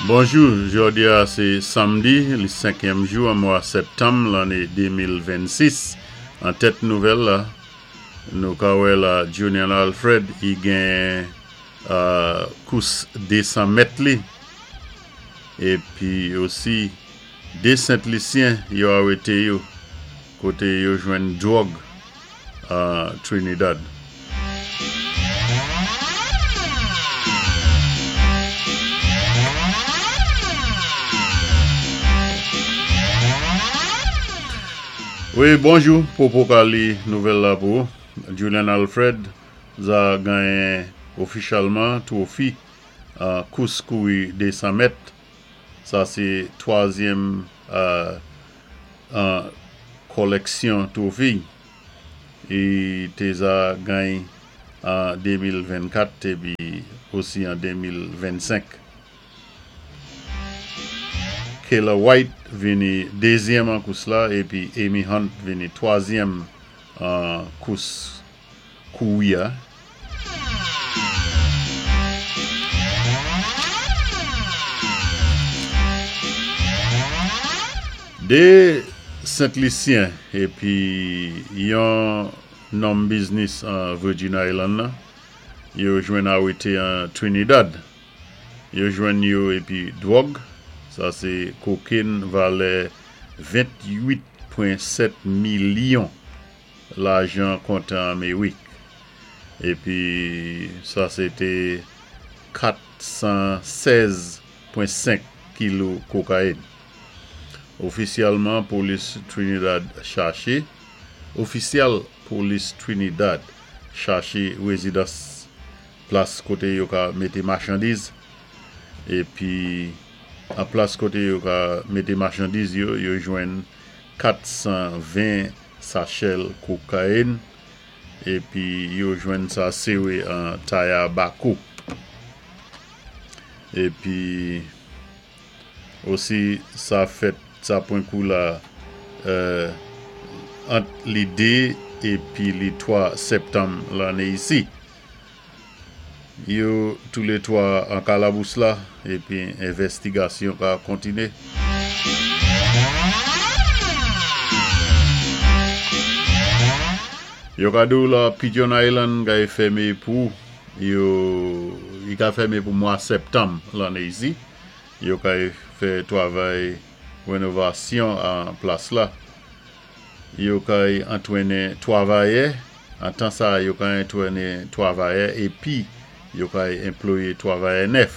Bonjou, jòdi a sé samdi, li senkyèm jou an mwa sèptanm lanné 2026. An tèt nouvèl la, nou ka wè la Julian Alfred i genyen kous 200 mèt li. Épi osi 2 Sent Lisyen yo arété yo koté yo jwenn dwòg an Trinidad. Wi bonjou Popo ka li nouvèl la pou ou. Julian Alfred za ganyen ofichalman twofi an kous kouri 200 mèt. Sa sé twazyèm an kòlèksyon twofi i té za gany an 2024 épi osi an 2025. Kayla White vini dézyèm an kous la épi Amy Hunt vini twazyèm an kous kouri a. 2 Sent Lisyen epi yon nonm biznis an Virgin Island nan yo jwenn arete an Trinidad. Yo jwenn yo epi dwòg, sa se koken valè 28.7 milyon lajan kontan Amerik. Epi sa se te 416.5 kilo kokayin. Ofisyèlman polis Trinidad chache Ofisyèl polis Trinidad chache rezidans plas kote yo ka mete machandiz epi an plas kote yo ka mete machandiz yo, yo jwenn 420 sachè kokayin epi yo jwenn sa sere an Tayabako. Epi osi sa fèt sa pwen kou la ant li 2 epi li 3 septanm lanne isi. Yo tou le 3 an kalabous la epi envèstigasyon ka kontine. Yo ka di w la Pigeon Island kay fème pou yo li ka fème pou mwa septanm lanne isi. Yo kay fè twavay renovasyon an plas la. Yo kay antrennen twavayè An tan sa a, yo ka entwene twavayè epi yo ka enploye twavayè nèf.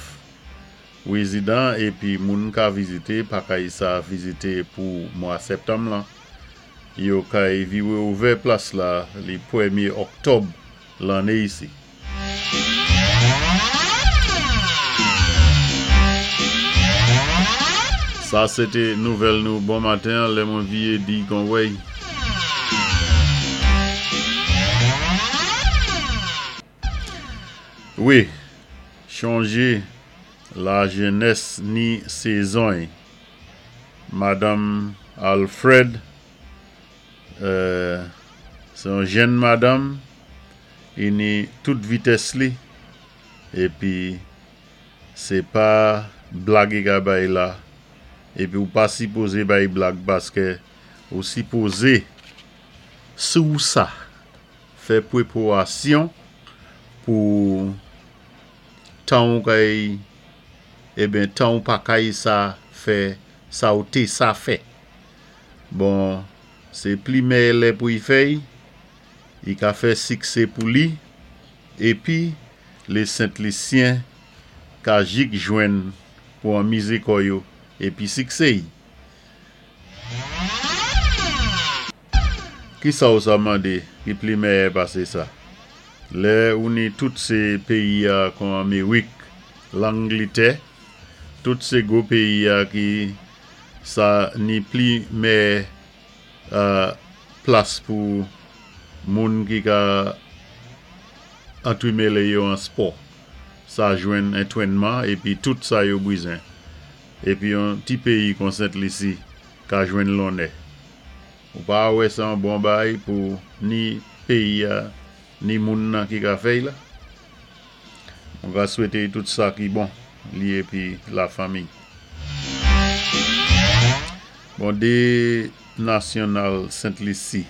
Rezidan epi moun ka vizite pa kay sa vizite pou mwa septanm lan. Yo kay vire ouvè plas la li premye oktòb lanne isi. Sa se te nouvèl nou bon maten an lè mwen viye di kon wey. Wi, chonje la jenès ni sezon y. Madanm Alfred se yon jenn madanm. Ini tout vitès li epi se pa blag i ka bay la epi ou pa sipoze bay blag paske ou sipoze si w sa fè preporasyon pou tan ou kay eben tan ou pa kay sa fè sa ou te sa fè bon se pli mèyè lè pou y fè y. Li ka fè siksé pou li, épi lé Sent Lisyen ka jik jwenn pou anmizé kò yo épi siksé y. Kisa ou sa mandé ki pli mèyè pasé sa? Lè ou ni tout sé péyi a kon Amerik, Langlitè, tout sé gwo péyi a ki sa ni pli mèyè Plas pou moun ki ka antrimele yo an spò. Sa jwenn entwennman epi tout sa yo brizen. Epi yon ti peyi kon Sent Lisi ka jwenn lonnè. Ou pa wè sa yon bon bay pou ni peyi a ni moun nan ki ka fè y la? Mwen ka swete y tout sa ki bon. li épi lafanmi. Bon 2 nasyonal Sent Lisi,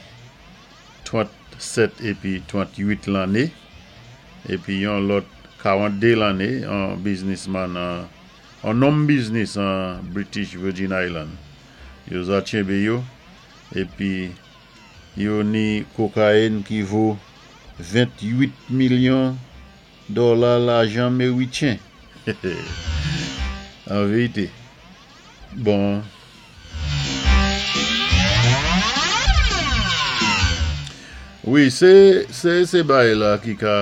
37 épi 38 lanné, épi yon lòt 42 lanné, an biznisman an, an nonm biznis an British Virgin Island. Yo za tchenbé yo, épi yo ni kokayin ki vo 28 milyon dòla lajan meritchen. An vérité. Bon. Wi, sé sé sé bagay la ki ka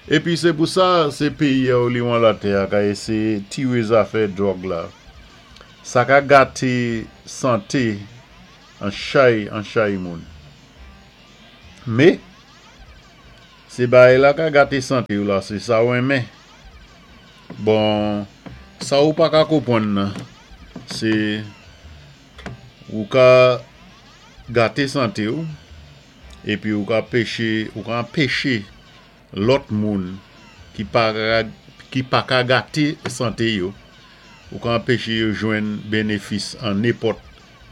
épi sé pou sa sé péyi a oliwan latè a ka éséyé tiré zafè dwòg la. Sa ka gaté santé an chay an chay moun. Mé, sé bagay la ka gaté santé ou la sé sa ou renmen. Bon, sa ou pa ka konpwann nan, sé ou ka gaté santé ou, épi ou ka péché, ou ka anpéché lòt moun ki pa ki pa ka gaté santé yo, ou ka anpéché yo jwenn bénéfis an nenpòt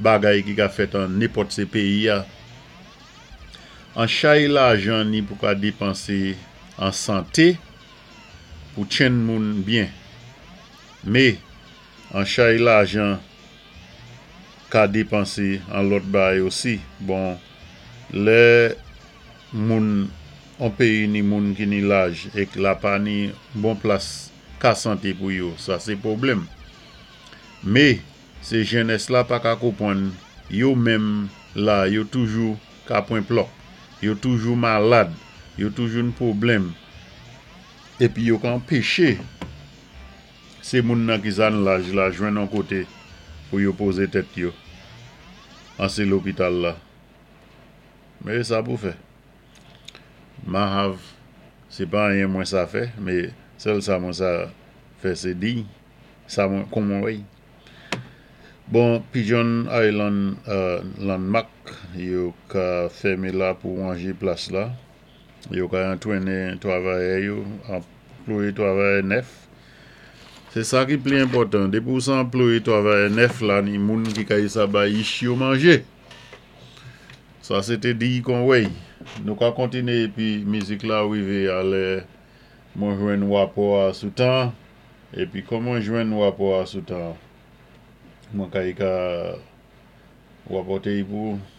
bagay ki ka fèt an nenpòt sé péyi a. An chay lajan ni pou ka dépansé an santé pou tchenn moun byen. Mé, an chay lajan ka dépansé an lòt bagay osi. Bon, lè moun on péyi ni moun ki ni laj ék la pa ni bon plas ka santé pou yo, sa sé pwoblèm. Mé, sé jènès la pa ka konpwann yo menm la yo toujou ka pwan plòk, yo toujou malad, yo toujou n pwoblèm, épi yo ka anpéché sé moun nan ki za n laj la jwenn on koté pou yo pozé tèt yo an sé lopital la. Mé sa pou fè. Mahav, sé pa anyen mwen sa fè, mé sèl sa mwen sa fè sé di sa mwen kon mwen wè. Bon, Pigeon Island Landmark, yo ka fèmé la pou wanjé plas la. Yo ka antwéné twavayè yo, anployé twavayè nèf. Sé sa ki pli enpòtan, dépi ou sa anployé twavayè nèf la ni moun ki ka sa bay ich yo manjé. Sa sé té diy kon wèy. Nou ka kontiné épi mizik la rivé a lè mwen jwenn wapò a sou tan, épi kon mwen jwenn wapò a sou tan, mwen ka y ka wapòté y pou ou.